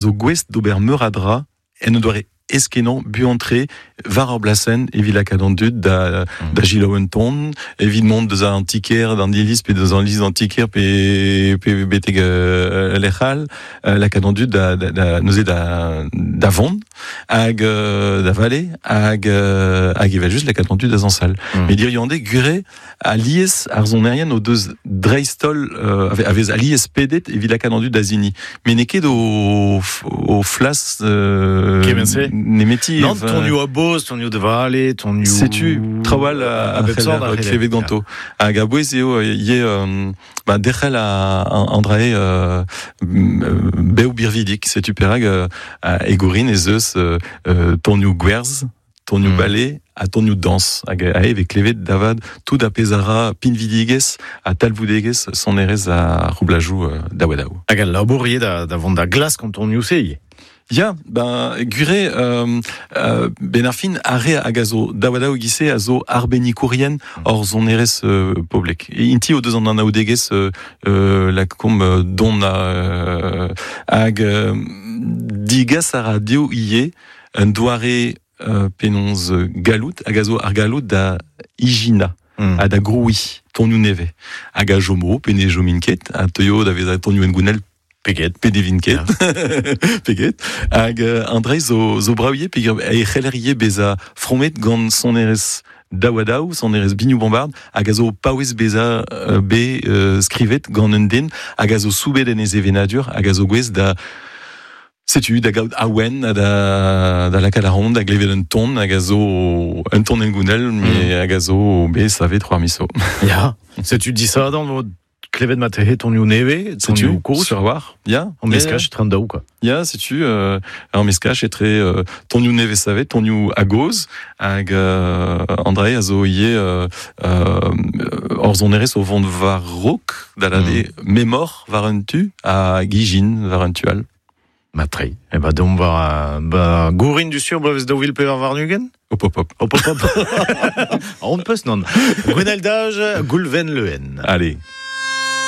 Zo gouest d'ober meur a dra en un doare aes-kenañ, buan-tre, war ar blasenn evit lakaat an dud da, mm. da selaou un ton, evit mont deus an ti-kêr d'an iliz pe deus an iliz d'an ti-kêr pe, pe betek euh, lec'h all, euh, lakaat an dud da, da, da, neuze da, da vont hag euh, da vale hag, euh, hag evel-just lakaat an dud da zañsal. Mm. Met hiziv an deiz, gwir Alies ar sonerien o deus dreist-holl euh, a vez alies pedet evit lakaat an dud da zini. Met n'eo ket o, o flas euh, nemeti. Non, tonioù a boz, tonioù de vale, tonioù... Setu, traoù all a, a bep sort a klevet ganto. Hag a-bouez eo ivez euh, ba, derc'hel a, an drae euh, bev birvidik. Setu perak euh, e Gourin ez eus euh, tonioù gwerz, tonioù mm. bale ha tonioù dañs hag aze e vez klevet da vat tout ar pezh a ra pinvidigezh ha talvoudegezh sonerezh ar roublajoù euh, daou-ha-daou. Hag al labour ivez da, da vont da glask an tonioù-se ivez. Ya, ben, gwir eo, euh, euh, ben ar fin, ar re hag a zo daou-ha-daou e-giz-se a zo arbennikourien mm. hor sonerezh euh, poblek. Inti o deus an anaoudegezh euh, euh, lakaomp don euh, hag euh, digas a ra dezho ivez un doare penaos gallout hag a zo ar galloud da ijinañ mm. ha da grouiñ tonioù nevez hag a chomo pe ne chomin ket a teuio da vezañ tonioù hengounel pe get pe ne vin ket pe get hag an dra zo zo brav ivez peogwir e c'heller ivez bezañ fromet gant sonerezh daou-ha-daou sonerezh binioù bombard hag a zo paouez bezañ bet skrivet gant un den hag a zo soubet en e sevenadur hag a zo gouest da Setu da gaout awen ha da, da lakaat ar da glevet un ton hag a zo un ton hengounel, mais mm. hag a zo bet savet c'hoar miso. Ya, setu disadorn vo klevet ma tehe tonioù nevez, tonioù kozh. Sur war, ya. An meskaj etre an daou, quoi. Ya, setu euh, ur meskaj etre euh, tonioù nevez savet, tonioù a-gozh, hag euh, André a zo ivez euh, euh, hor sonerezh o vont war-raok, da lâret mm. memor war un tu, hag ijin war un tu all. Matre. E ba deomp war ba Gourin du sur bloavezh 2024? Hop hop hop. Hop hop hop. On peus non. Gwenel Dage, Goulven Lehen. Allez.